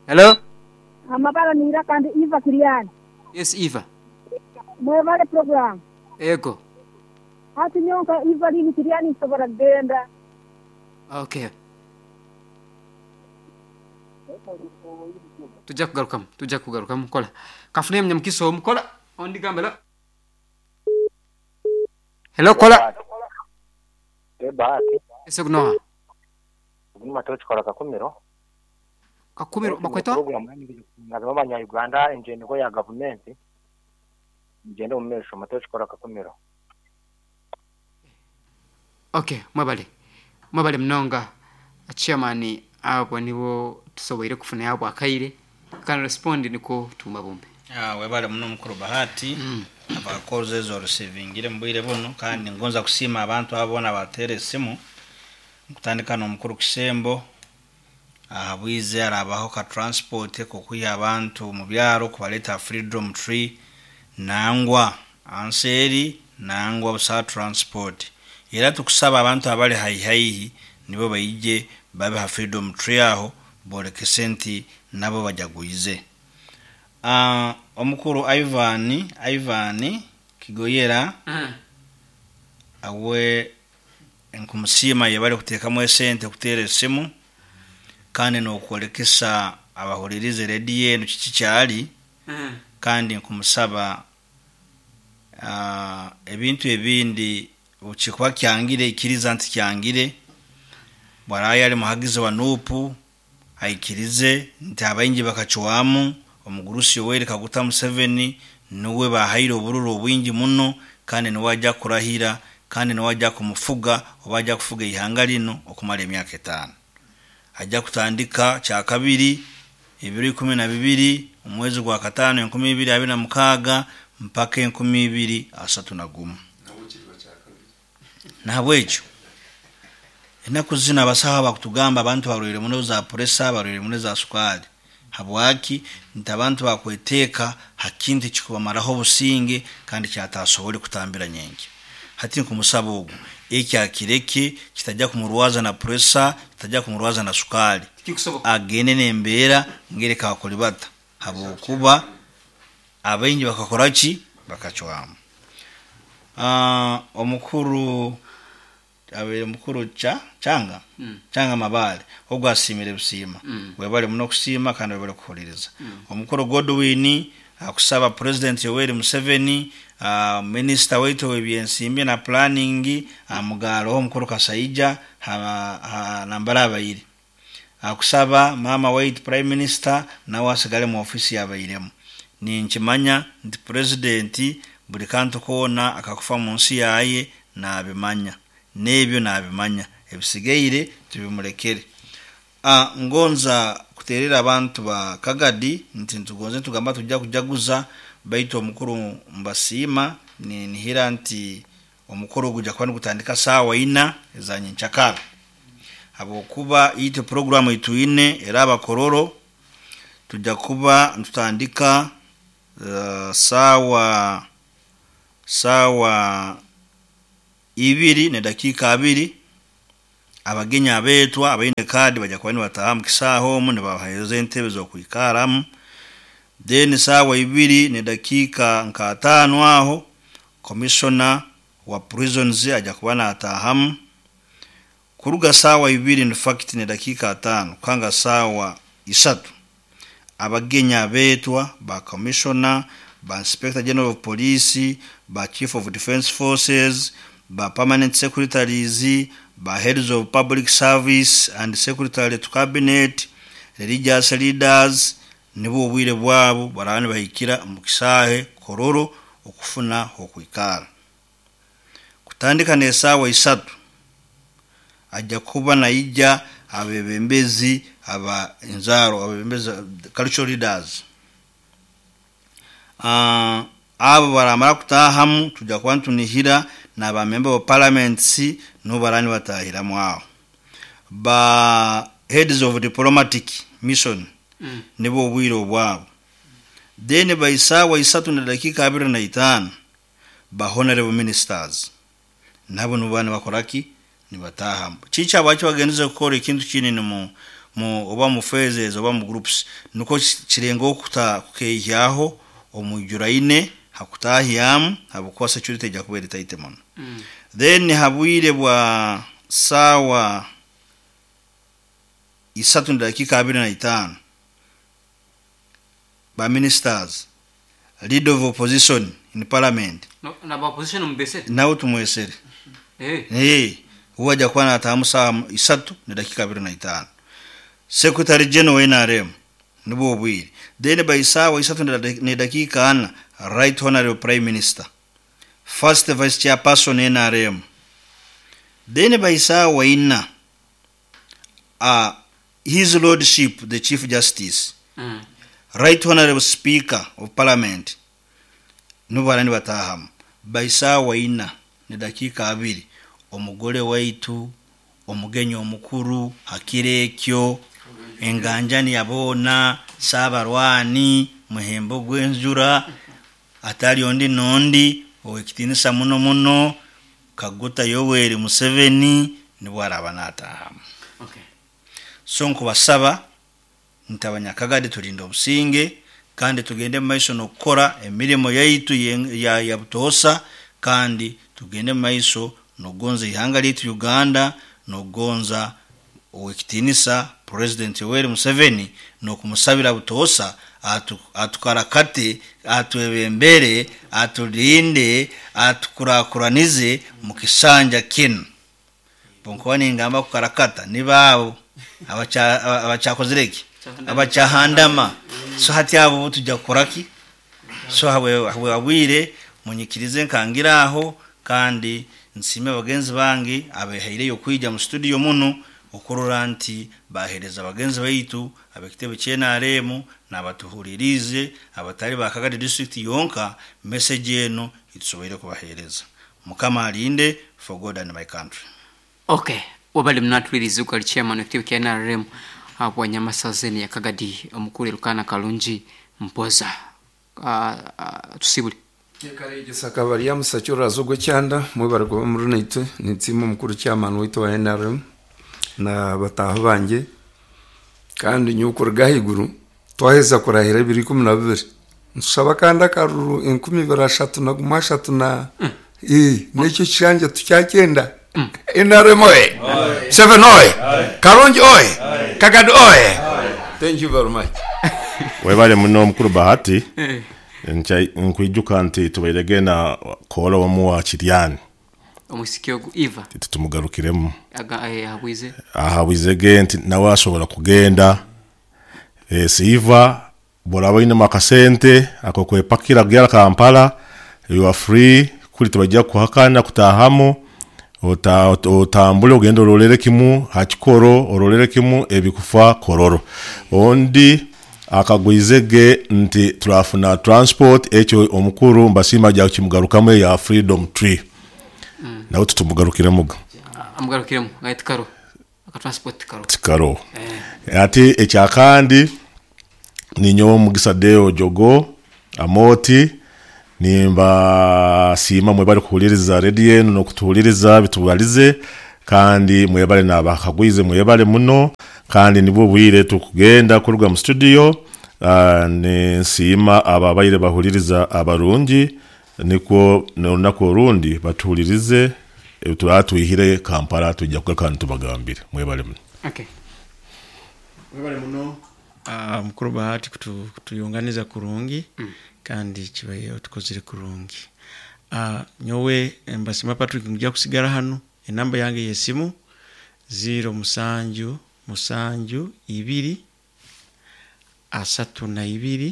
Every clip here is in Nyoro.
Hello. Amabara n'eiraka ndi Eva Kiriani. Yes Eva. Mwebale program. Ego. Hati nyowe nka Evaline Kiriani nsobora kugenda. Okay. Tujja kugarukamu, tujja kugarukamu kola. Kanfune munyamukisa omu kola ondi gamba hello. Hello kola. Bahati. Ese gunoha. Ogu ni Matoki kola Kakumiro. Kakumiro bakweta? Nga abanya Uganda enjengo ya gavumenti. Ngende omu maisho Matoki kola Kakumiro. Okay, mwebale. Mwebale munonga chairman abo nibo tusoboire kufuna yabo akaire. Can respond niko tuma bumbe. Webale muno mukuru Bahati. Abakozi ezo rusivingire mu bwire buno kandi ngonza kusiima abantu abo boona bateera esimu nkutandika n'omukuru Kisembo ahabwize arabaho ka transport kokwiha abantu mu byaro kubaleta Freedom Tree nangwa anseeri nangwa busa transport era tukusaba abantu abali haihaihi nibo baije babe ha Freedom Tree aho bolekese nti nabo bajaguize. Omukuru Ivan Kigoyera awe nkumusiima yebale kuteekamu esente kuteera esimu kandi n'okwolekesa abahulirize rediyo eno kiki kyali kandi nkumusaba ebintu ebindi kikuba kyangire ikiriza nti kyangire bwarayo ali muhagizi wa NUP aikirize nti abaingi bakacwamu omugurusi Yoweri Kaguta Museveni niwe bahaire obururu obwingi muno kandi niwe ajja kurahira kandi niwe ajja kumufuga oba ajja kufuga ihanga lino okumara emyaka 5. Ajja kutandika kyakabiri ebiro 12 omwezi gwa 5 2026 mpaka 2031. Nahabwekyo enaku zino abasaho bakutugamba abantu barwaire muno za pressure, barwaire muno za sukari. Habwaki nti abantu bakweteeka ha kintu kikubamaraho obusinge kandi kyatasobole kutambira nyenki. Hati nkumusaba ogu eki akireke kitajja kumurwaza na pressure, kitajja kumurwaza na sukari. Agende n'embeera ngereka akolibata habwokuba abaingi bakakora ki bakacwamu. Omukuru abe mukuru changa changa mabale ogwo asimire busiima. Webale muno kusiima kandi webale kuhuliriza. Omukuru Godwin akusaba President Yoweri Museveni, minister waitu w'ebyensimbi na planning amugalo omukuru Kasaija nambara abayiri. Akusaba mama waitu Prime Minister nawe asigale mu ofisi yabayiremu. Ninkimanya nti president buli kantu koona akakufa mu nsi yaye nabimanya. Nebyo nabimanya ebisigaire tubimulekere. Ngonza kuterera abantu ba Kagadi nti ntugonze tugamba tujja kujaguza baitu omukuru mbasiima nihira nti omukuru gujja kuba nigutandika saawa 4 ezanye nchakara habwokuba ite programu ituine era abakororo tujja kuba ntutandika saawa 2:02 abagenya abetwa abaine kadi bajja kuba nibataha mu kisaaho omu nibabaheereza entebe z'okwikaramu. Then saawa 2:05 aho commissioner wa prisons ajja kuba natahamu. Kuruga saawa 2:05 kanga saawa 3 abagenya abetwa ba commissioner, ba inspector general of police, ba chief of defense forces, ba permanent secretaries, ba heads of public service and secretary to cabinet, religious leaders nibo obwire bwabo barani bahikira mu kisaahe Kororo okufuna okwikara. Kutandika n'esaawa 3 ajja kuba naija abebembezi aba nzaro abebembezi cultural leaders. Abo baramara kutahamu tujja kuba ntunihira n'aba member of parliament no barani batahiramu aho. Ba heads of diplomatic mission nibo obwire obwabo. Then by saawa 3:25 ba honorable ministers nabo nubana bakoraki nibatahamu. Chicha abacho bagenze gukora ikintu kinini mu oba mu phases oba mu groups, nukwo kirenga okuta kukeihyaho omwijuraine hakutahyamu habwokuba security ejja kuba eri tight muno. Then habwire bwa saawa 3:25, ba ministers, leader of opposition in parliament. No, na ba opposition mubesere. Nawe tumwesere. Eh. Uwe ajja kuba natahamu saawa 3:25. Secretary General wa NRM nibwo obwire. Then by saawa 3:40, Right Honorable Prime Minister, First Vice Chairperson NRM. Then by saawa 4, His Lordship the Chief Justice, Right Honorable Speaker of Parliament, nibo barani batahamu. By saawa 4:20, omugole waitu, omugenyi omukuru hakiro ekyo, enganjani yaboona, saabarwani, muhembo gw'enjura, atali ondi nondi, owekitinisa muno muno, Kaguta Yoweri Museveni, nibwo araba natahamu. So nkubasaba nti abanyakagadi tulinde obusinge, kandi tugende mu maiso n'okukora emirimo yaitu ya butoosa, kandi tugende mu maiso n'okugonza ihanga lyaitu Uganda, n'okugonza owekitinisa President Yoweri Museveni, n'okumusabira butoosa atukarakate, atwebembere, atulinde, atukurakuranize mu kisanja kinu. Bonkuba ningamba kukarakata nibaabo abakyakozire ki? Abakyahandama. So hati abo tujja kukoraki? So habwe abwire munyikirize nkangira aho, kandi nsime bagenzi bange abehaireyo kwija mu studio muno okurora nti bahereza bagenzi baitu abekitebe kya NRM n'abatuhuririze abatali ba Kagadi district yonka message eno itusoboire kubahereza. Mukama alinde, for God and my country. Okay, wabali mnatuliriza ukali chairman w'ekitebe kya NRM abwa Nyamasazeni ya Kagadi omukuru Elukana Kalungi Mpoza. Tusibule. Karegesa kabari ya musakyo razo cyanda mwebare kuba muri naitwe nitsima omukuru chairman waitu wa NRM na bataho bange, kandi nyukuruga higuru twaheza kurahira 2012 ntusaba kandi akaruru 2033 na nekyo kishanja tukyakenda. NRM oye, 7 oye, Kalungi oye, Kagadi oye. Thank you very much. Webale muno omukuru Bahati. Nkwijuka nti tubairege na kola wamu wa Kiryani omusiki ogu Eva titumugarukiremu ahabwize ahabwizege nti nawe ashobora kugenda. Siva boraba ine makasente ako kwepakira gyara Kampala, you are free kuli tubajja kuhakana kutahamo, otambule ogende orolere kimu hakikoro, orolere kimu ebikufa kororo. Ondi akagwizege nti turafuna transport ekyo omukuru mbasima ajja kimugarukamu ya Freedom Tree. Nawe tutumugarukiremuga. Amugarukiremu ngait karo aka transport karo tikaro. Ati ekyakandi ninyo Mugisa Deo Jogo Amoti nimba sima mwebale kuhuliriza radio eno nokutuhuliriza bitubalize, kandi mwebale nabakagwize mwebale muno, kandi nibwo bwire tukugenda kuruga mu studio. Nsiima ababaire bahuliriza abarungi, nikwo n'olunaku orundi batuhulirize, turatwihire Kampala tujja kugaruka tubagambire. Mwebale muno. Okay. Mwebale muno mukuru Bahati kutuyunganiza kurungi, kandi kibaye otukozire kurungi. Nyowe mbasima Patrick nja kusigara hano, enamba yange yesimu 0 7 7 2 32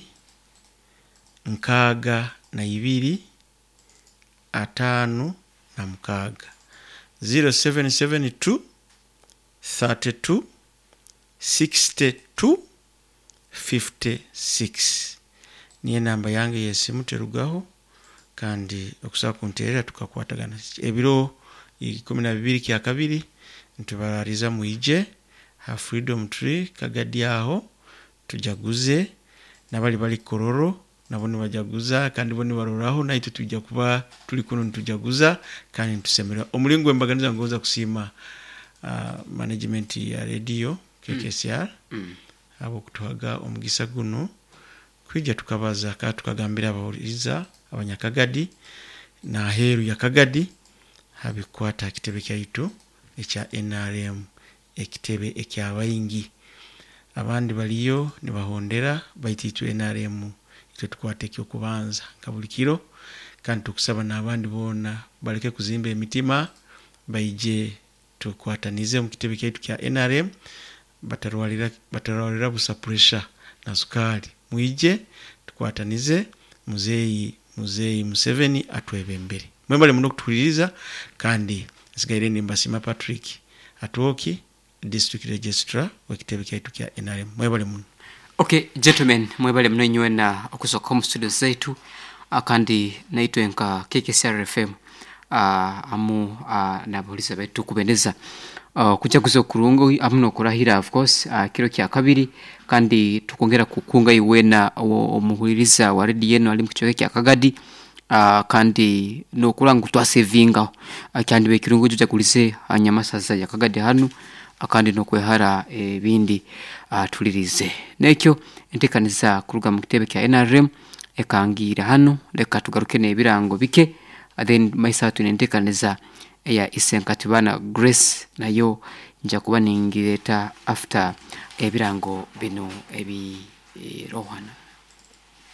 6 5 6 0772 32 62 56 niyo namba yange yesimu terugaho, kandi okusaba kunterera tukakwatagana ebiro 12 kya kabiri ntubarariza muije ha Freedom Tree Kagadi aho tujaguze, nabali bali Kororo nabo nibajaguza, kandi bo nibaroraho naitwe tujja kuba tuli kuno nitujaguza kandi ntusemera. Omulingo embaganiza ngoza kusima management ya radio KKCR habwokutuhaga omugisa guno kwija tukabaza kandi tukagambira abahuliriza abanyakagadi n'aheeru ya Kagadi habikwata ha kitebe kyaitu ekya NRM, ekitebe ekyabaingi. Abandi baliyo nibahondera, baitu itwe NRM itwe tukwata ekyokubanza nka buli kiro, kandi tukusaba n'abandi boona baleke kuzimba emitima, baije tukwatanize omu kitebe kyaitu kya NRM, batarwarira busa pressure na sukaali. Mwije tukwatanize, muzeeyi Museveni atwebembere. Mwebale muno kutuhuliriza, kandi nsigaire nimbasiima Patrick Atwoki, district registrar w'ekitebe kyaitu kya NRM. Mwebale muno. Okay, gentlemen, mwebale muno inywena okusoka omu studio zaitu, kandi naitwe nka KKCR FM amu n'abahuliza baitu tukubendeza kujaguza okurungi amu n'okurahira, of course, kiro kya kabiri, kandi tukongera kukunga iwena omuhuliriza wa radio eno ali mu kicweka kya Kagadi, kandi nokurora ngu twasevingaho. Kyandiba ekirungi ojagulize hanyamasaza ya Kagadi hanu, kandi nokwehara ebindi, tulirize nekyo entekaniza kuruga mu kitebe kya NRM ekangiire hanu. Leka tugaruke n'ebirango bike, then maisa twine entekaniza eya Isenkatibana Grace, nayo nja kuba ningireeta after ebirango bino ebirohana.